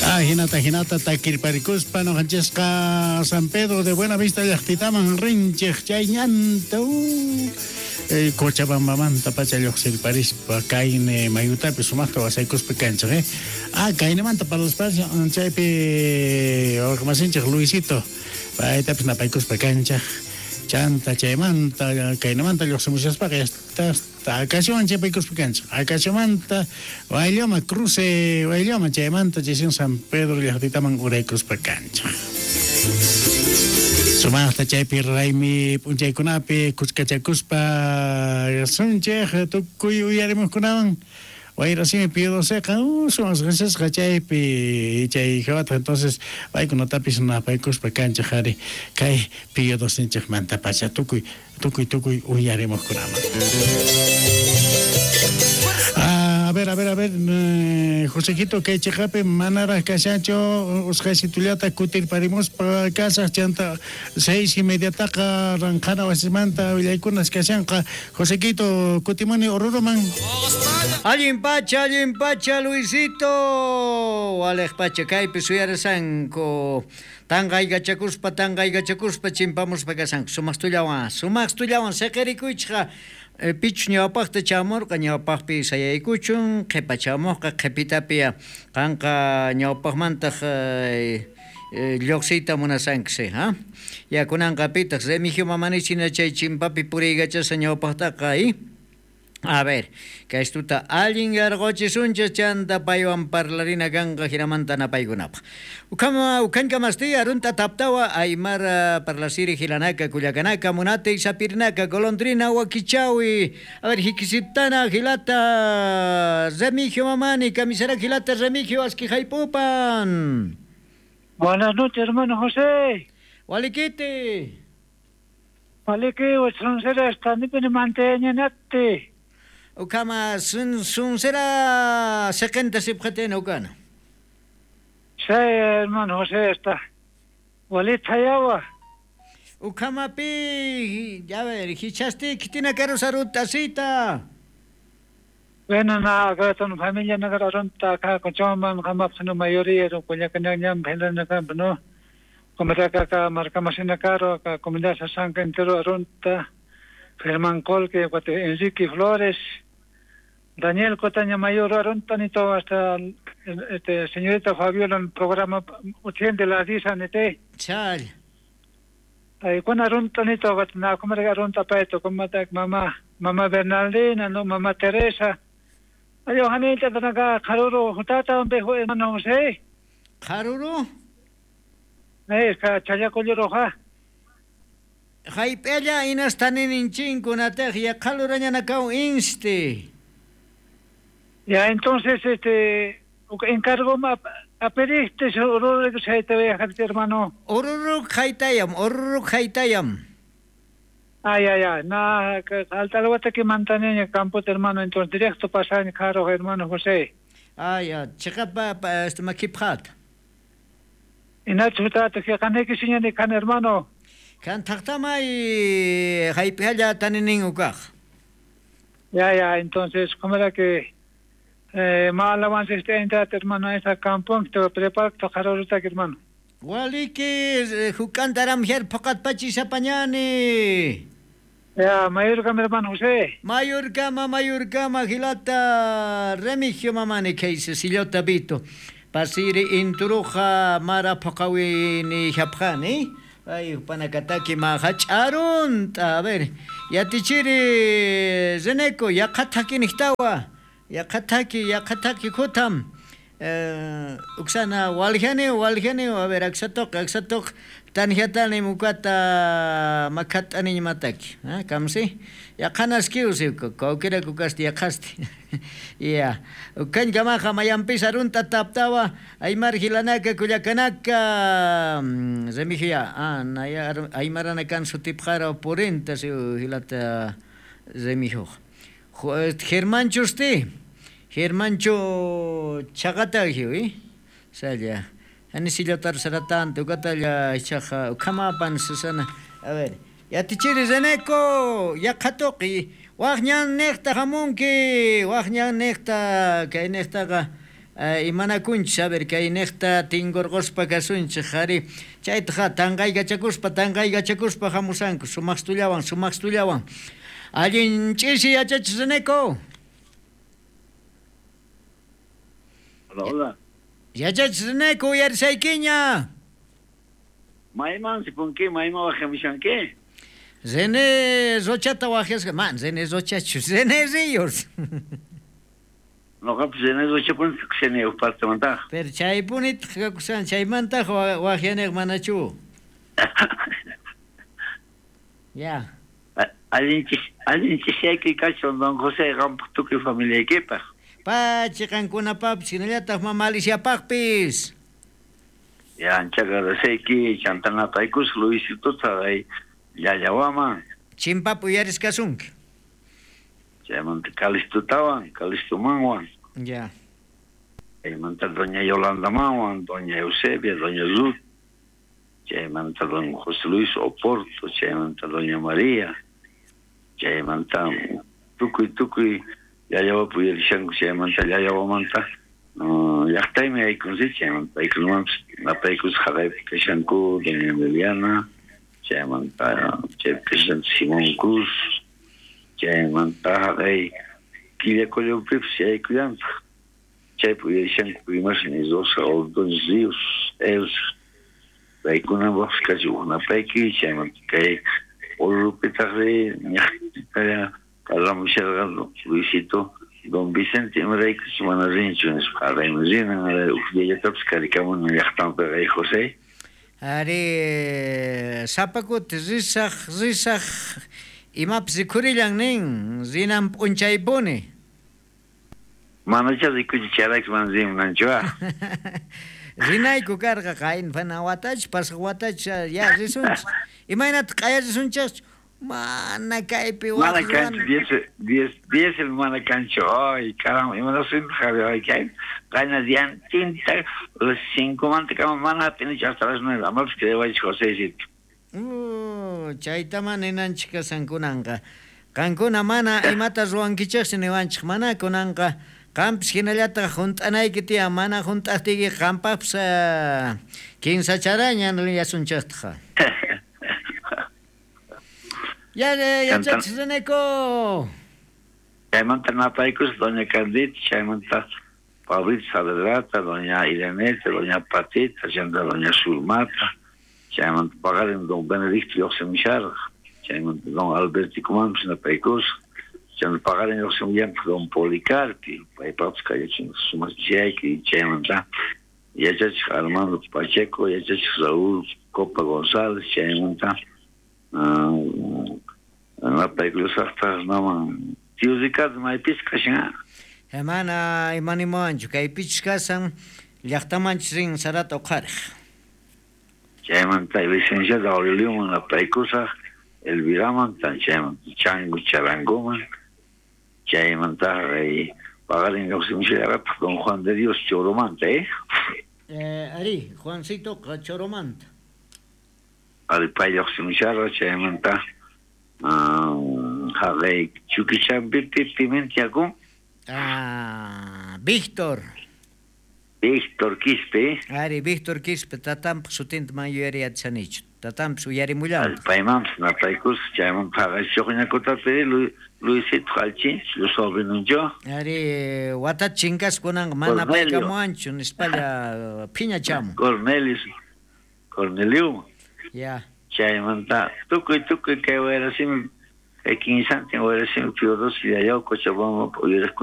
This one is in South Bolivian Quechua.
Ajinata jinata takirparikuspa noqanchisqa San Pedro de Buenavista llaqtitaman rinchej chay ñanta Cochabambamanta pacha lloqsirparispa kayne mayutapi sumaqta wasaykuspa kanchej eh. Ah, kaynemanta parlaspa chaypi wawqemasinchej Luisito paytapis napaykuspa kanchej chanta chaymanta kaynemanta lloqsimushaspaqa ya está Acaciawan chapaykuspa kanchej. Acaciamanta Wayllama, cruce Wayllama, chaymanta chaysin San Pedro llaqtitaman uraykuspa kanchej. Sumaqta chaypi raymi p'unchaykunapi kuskachakuspa sunchej tukuy uyarimuqkunawan Wayrasimi Pío XIIqa sumaq riqsisqa chaypi chay Jehovataq entonces paykunatapis napaykuspa kanchej ari kay Pío XIInchejmantapacha tukuy Tukuy tukuy uyarimuqkunaman. A ver, a ver, a ver, Josequito, kay cheqapi manaraq kashanchu usqhaysitullata kutirparimuspa kasaq chanta 6:30taqa ranqhana wasimanta willaykunas kashanqa. Josequito, kutimuni Oruroman. Allin pacha, allin pacha, Luisito. Waleq pacha kaypi suyarasanku. Tanqaykachakuspa, tanqaykachakuspa chimpamuspa kashanku. Sumaqtullawan, sumaqtullawan seqerikuychqa pichus ñawpaqta chamurqa, ñawpaqpi sayaykuchun, qhipa chamuqqa qhipitapi qanqa ñawpaqmantaq lluqsiyta munasanki, ha? Ya kunanqa pitaq Remigio Mamanichina chay chimpapi puriykachasqa ñawpaqtaqa, i? A ver, kaystuta allin yarqochisunchis chanta paywan parlarina kanqa jinamanta napaykunapaq. Ukhama ukhankamasti arunta taptawa aymara parlasiri hilanaka kullakanaka munate sapirnaka golondrina wakichawi. A ver, hikisiptana hilata Remigio Mamani, camisara hilata Remigio askijaypupan. Buenas noches, hermano José. Walikiti. Waliki, uchrunsera estanipini manteñanatti. Ukama sunsera seqenta sipqatina ukana. Sí, hermano José está. Walita yawa. Ukamapi, ya ver, hichasti kitina karusarut asita. Bueno, na, acá ton familia nagar arunta acá con chomban kamapsano mayoría ro kullakanñam helana kamp no. Como acá acá marcamasina caro acá comunidad Sasanca entero arunta. Germán Colque, Enrique Flores, Daniel Cotaña Mayor, arunta ni todo hasta este señorita Fabiola en programa utiende la disa nete. Chal. Ay, con arunta ni todo, na como arunta paeto, como mamá, mamá Bernardina, no mamá Teresa. Ay, ojanita tanaka jaruro, jutata un bejo hermano José. Jaruro? Ka chayacoyo roja. Jayp'ella inastaninchinkuna ya qalurañanakaw insti. Ya entonces encargo a pediste oruru hermano. Oruru jaytayam, oruru jaytayam. Ay, ay, ay, na altalwata que mantaneña campo hermano, entonces directo pasan caro hermano José. Ay, ya, chiqapa makipqat. Inachu tata que kaneki siñani kan hermano. Kan taqtamay jayp'ella taninin ukaq. Ya, ya, entonces, ¿cómo era que malawan este entra hermano esa campo te prepara to jaruruta hermano? Waliki hukantaram her poqat pachi sapañani. Ya, mayorkama hermano José. Mayorkama, mayorkama hilata Remigio Mamani kayse sillota vito. Pasiri inturuja mara poqawini japqani. Ay, panakataki mahach'arunta. A ver, yatichiri Reneco, yaqataki nihtawa. Yaqataki, yaqataki kutam. Uksana waljani, waljani, a ver, aksatoq, aksatoq, tanjatani mukata makatani mataki. Ah, kamsi? Yaqanaskiusi, kawkira kukasti yaqasti. Ya. Ukankamaqa mayampis arunta taptawa, aymar hilanaka kullakanaka. Remigio, ah, naya aymarana kan sutipqara purinta si hilata Remigio. Germán chusti. Germancho chaqata hiwi. Salla. Ani sillotar saratante ukatalla chaqa ukamapan Susana. A ver. Yatichiri Reneco, yaqhatuqi. Waqñan niqta hamunki, waqñan niqta kay niqtaqa Imanakunchis, a ver, kay niqta tinkurquspa kasunchik, ari chaytaqa tanqaykachakuspa hamusanku sumaqstullawan. Allin ch'isi yachachis Reneco. Hola, hola. Yachachis Reneco, uyarisaykiña. Mayman sipunki, mayman wajamishanki. René Rochata wajasqa, man, René Rochachu, René Ríos. Noqapis René Rochapuni tukusani uj partemantaqa. Pero chaypunitaq kakusan, chaymantaq wajyaneq manachu. Ya. Allin ch'isiyayki kachun don José qampaq tukuy familiaykipaq. Pachi qankunapapis hinallataq mama Aliciapaqpis. Ya, ancha agradeceyki, chantanapaykus Luisitota ay llallawaman. Chimpapi uyariskasunki. Chaymanta Calistutawan, Calistumanwan. Ya. Chaymanta doña Yolandamanwan, doña Eusebia, doña Ruth. Chaymanta don José Luis Oporto, chaymanta doña María. Chaymanta tukuy llallawapi uyarishanku, chaymanta llallawamanta llaqtaymi aykunsi, chaymanta aykunamanpis napaykus haqaypi kashanku doña Emiliana, chaymanta chaypi kashan Simón Cruz, chaymanta haqay Quillacollopipis yaykullantaq, chaypi uyarishanku imasnin Rosa Ordóñez Ríos, Elsa, paykunapaqpis kachin uj napayki, chaymanta kay Orurupitaqri ñaqtalla parlamusharqa Luisito, don Vicente imaraykuchus mana rinchu nispa, haqayman rinan, uj diallatapis karikamunan llaqtanpiqa ay José. Ari sapa kuti risaq imapis rikhurillan nin, rinan p'unchaypuni. Manacha rikuchi chayrayku mana rimunanchu ah. Rinayku karqa qayna watachu, pasaq watachu, ya risunchik. Imaynataq q'aya risunchikchu? Mana kaypi Mana kanchu, diésel mana kanchu. Ay, caramba, imanasuypaq ay kay qayna diantinta las 5 manta kama mana hap'inichu hasta las 9, amapis creewaychik José. Chayta mana ninanchik kasan kunanqa. Qankuna mana imata ruwankichikchu niwanchik, mana kunanqa qampis hinallataq hunt'anayki tiyan, mana hunt'aqtiyki qampaqpis kinsacharaña nillasunchiktaqa. Ya, yachachis Reneco. Chaymanta napaykus doña Candita, chaymanta Pablito Saavedrata, doña Ireneta, doña Patita, chaymanta doña Zulmata, chaymanta paqarin don Benedicto lluqsimusharqa, chaymanta don Alberticomanpis napaykus, chaymanta paqarin lluqsimullantaq don Policarpi, paypaqpis kallachin sumaq chayki, chaymanta yachachik Armando Pacheco, yachachik Raúl Copa González, chaymanta napaykusaqtaq naman tío Ricardo maypis kashan. Mana imanimuwanchu, kaypichus kasan llaqtamanchus rin sarata uqhariq. Chaymanta licenciado Aurelioman napaykusaq, Elviraman, chaymanta Chango Charangoman, chaymanta paqarin lluqsimushallarqataq don Juan de Dios Choromanta, Ari, Juancito Choromanta. Ari pay lluqsimusharqa, chaymanta haqay Chuquichampipi Pimenta yakun. Ah, Víctor. Víctor Quispe. Ari, Víctor Quispe, tatanpaq sutinta man yuyariyachanichu. Tatanpis uyarimullanqa. Paymanpis napaykus, chaymanta haqay chuqñakutapi Luisito Alchin, lu sobrinuncho. Ari, watata chinkas kunanqa mana paykamuwanchu nispalla phiñachamun. Cornelio. Ya. Chaymanta tukuy kay wayrasimi, kay kinsantin wayrasimi Piuros Llallao Cochabamba uyariqkunapaq.